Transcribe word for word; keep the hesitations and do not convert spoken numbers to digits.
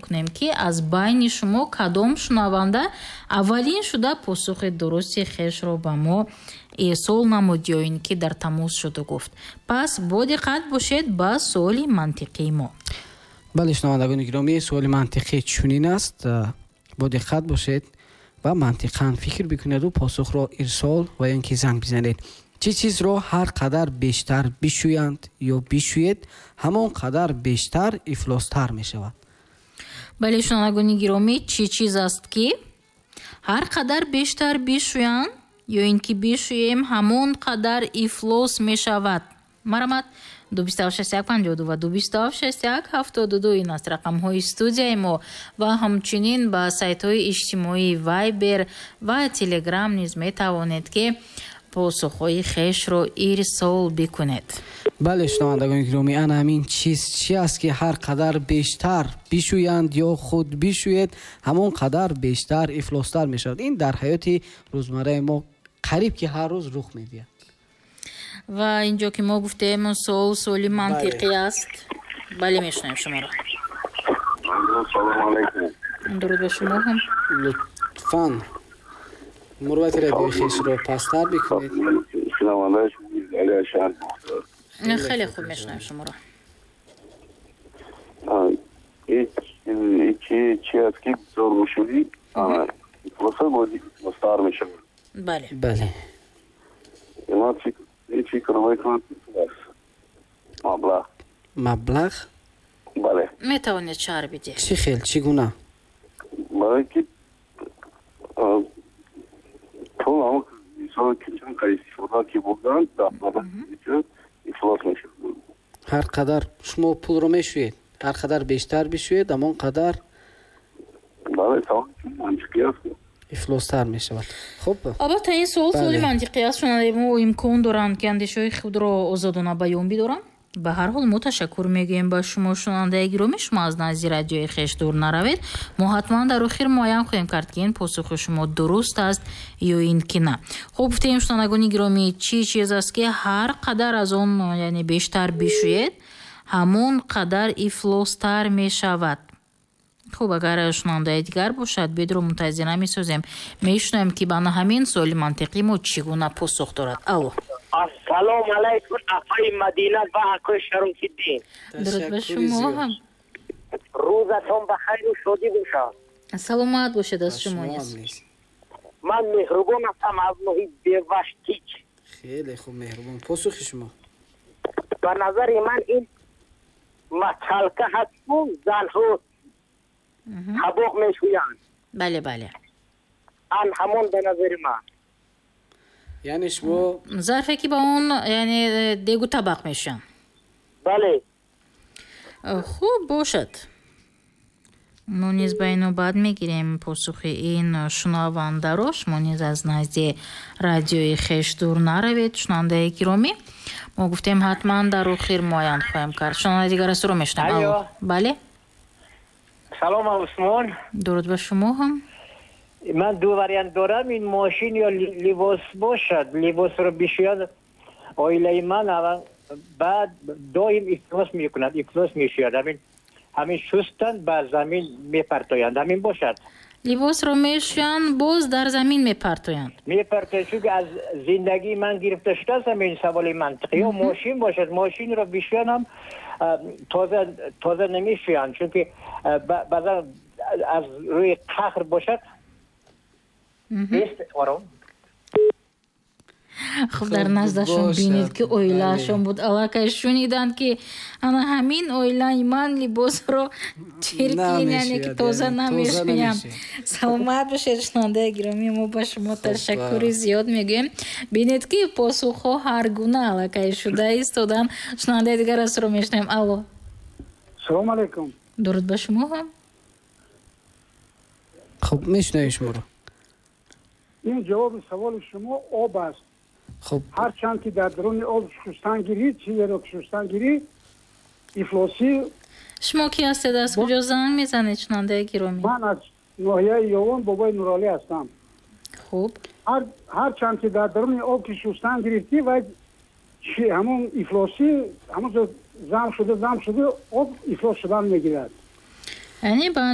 мекунем, ки аз байни шумо кадом шунаванда аввалин шуда посухи дурусти хешро ба мо ирсол намуд ё ин ки дар тамос шуду гуфт. Пас бо диққат бошед ба суоли мантиқии мо. Бале, шунавандагони гиромӣ, суоли мантиқӣ чунин аст. Бо диққат бошед ва мантиқан фикр бикунеду посухро ирсол ва ё ин ки занг бизанед. Чӣ чизро ҳар қадар бештар бишӯянд ё бишӯед, ҳамон қадар бештар ифлостар мешавад? Бале, шунавандагони гиромӣ, чӣ чиз аст, ки ҳар қадар бештар бишӯянд ё ин ки бишӯем, ҳамон қадар ифлос мешавад? Марамат, ду бисту ҳафт шасту як панҷоҳу ду ва ду бисту ҳафт шасту як ҳафтоду ду, ин аст рақамҳои студияи мо ва ҳамчунин ба сайтҳои иҷтимоии Вайбер ва Телеграм низ метавонед, ки посухҳои хешро ирсол бикунед. Бале, шунавандагони гиромӣ, ана ҳамин чиз чи аст, ки ҳар қадар бештар бишӯянд ё худ бишӯед, ҳамон қадар бештар ифлостар мешавад? Ин дар ҳаёти рӯзмарраи мо қариб ки ҳар рӯз рух медиҳад. Ва инҷо ки мо гуфтем, суол суоли мантиқӣ аст. Бале, мешунавем шуморо. Салому алайкум. Дуруд ба шумо ҳам. Лутфан мурвати радиои хешро пасттар бикунед. Хеле хуб мешунавем шуморо. Чи аст, ки бисёр бишӯӣ, ифлоса бояд ифлостар мешавад? Бале. Бале. Ман фикр мекунам, ки пул аст, маблағ. Маблағ? Бале. Метавонед шарҳ бидиҳед? Чӣ хел, чӣ гуна? Барое ки пул ҳамон мисол ки чанд қадр истифода ки бурданд, ифлос мешавад. Ҳар қадар шумо пулро мешӯед, ҳар қадар бештар бишӯед, ҳамон қадар Бале, савол мантиқӣ аст. Ифлостар мешавад. Хуб. Албатта, ин суол суоли мантиқӣ аст. Шунавандаи мо имкон доранд, ки андешаҳои худро озодона баён бидоранд. Ба ҳар ҳол, мо ташаккур мегӯем ба шумо, шунавандаи гиромӣ. Шумо аз назди радиои хеш дур наравед. Мо ҳатман дар охир муайян хоҳем кард, ки ин посухи шумо дуруст аст ё ин ки на. Хуб, гуфтем, шунавандагони гиромӣ, чӣ чиз аст, ки ҳар қадар аз он, яъне бештар бишӯед, ҳамон қадар ифлостар мешавад? Хуб, агар шунавандаи дигар бошад, бедро мунтазир намесозем, мешунавем, ки ба ҳамин суоли мантиқӣ мо чӣ гуна посух дорад. Алло. Ассалому алайкум, апаи Мадина ва акои Шарофиддин. Дуруд ба шумо ҳам. Рӯзатон ба хайру шодӣ бошад. Саломат бошед, аз шумо низ. Ман Меҳрубон ҳастам аз ноҳияи Беваштич. Хеле хуб, Меҳрубон, посухи шумо? Ба назари ман, ин мочалка ҳасту занҳо табоқ мешӯянд. Бале, бале. Ан ҳамон ба назари ман. Яъне шумо зарфе, ки ба он, яъне дегу табақ мешӯянд? Бале. Хуб бошад, мо низ ба ин навбат мегирем посухи ин шунавандаро. Шумо низ аз назди радиои хеш дур наравед, шунавандаи гиромӣ. Мо гуфтем, ҳатман дар охир муайян хоҳем кард. Шунавандаи дигар астро мешунавам. Бале. Салом, Усмон. Дуруд ба шумо ҳам. Ман ду вариант дорам: ин мошин ё либос бошад. Либосро бишӯяд оилаи ман, баъд доим ифлос мекунад, ифлос мешӯяд. Ҳамин ҳамин шустан ба замин мепартоянд. Ҳамин бошад. Либосро мешӯянд, боз дар замин мепартоянд? Мепартоянд, чунки аз зиндагии ман гирифта шудааст ҳамин саволи мантиқӣ. Ё мошин бошад, мошинро бишӯянд ҳам тоза тоза намешӯянд, чунки баъзан аз рӯи қаҳр бошад. Ором. Хуб, дар наздашон бинед, ки оилаашон буд, аллакай шуниданд, ки ана ҳамин оилаи ман либосро чиркин, яъне ки тоза намешӯям. Саломат бошед, шунавандаи гиромӣ, мо ба шумо ташаккури зиёд мегӯем. Бинед, ки посухҳо ҳар гуна аллакай шуда истоданд. Шунавандаи дигар астро мешунавем. Алло. Салому алайкум. Дуруд ба шумо ҳам. Хуб, мешунавем шуморо. Ин ҷавоби саволи шумо об аст. Хуб. Ҳарчанд ки дар даруни об шустан гирӣ, чизеро ки шустан гирӣ, ифлосӣ. Шумо ки ҳастед, аз куҷо занг мезанед, шунавандаи гиромӣ? Ман аз ноҳияи Ёвон, Бобои Нуролӣ ҳастам. Хуб. Ҳарчанд ки дар даруни об ки шустан гирифтӣ, вай ҳамон ифлосӣ ҳамон зам шуда, зам шуда, об ифлос шудан мегирад. Яъне ба